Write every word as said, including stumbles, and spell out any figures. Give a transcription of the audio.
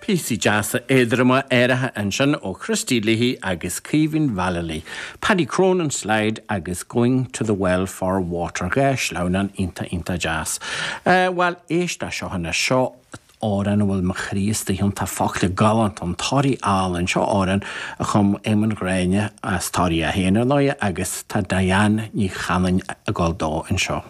Píosaí deasa éadroma aeracha ansin ó Christy Leahy agus Caoimhín Vallely. Paddy Cronin slide agus Going to the Well for Water dhá sleamhnán iontach iontach deas. Uh, Well éist seo na seo amhrán a bhfuil mo chroí istigh ann tá focla galánta an Toraigh álainn seo amhrán a chum Éamonn Ghráinne as Toraigh a haon ar ndóigh agus tá Diane Ní Chanainn ag gabháil dó anseo.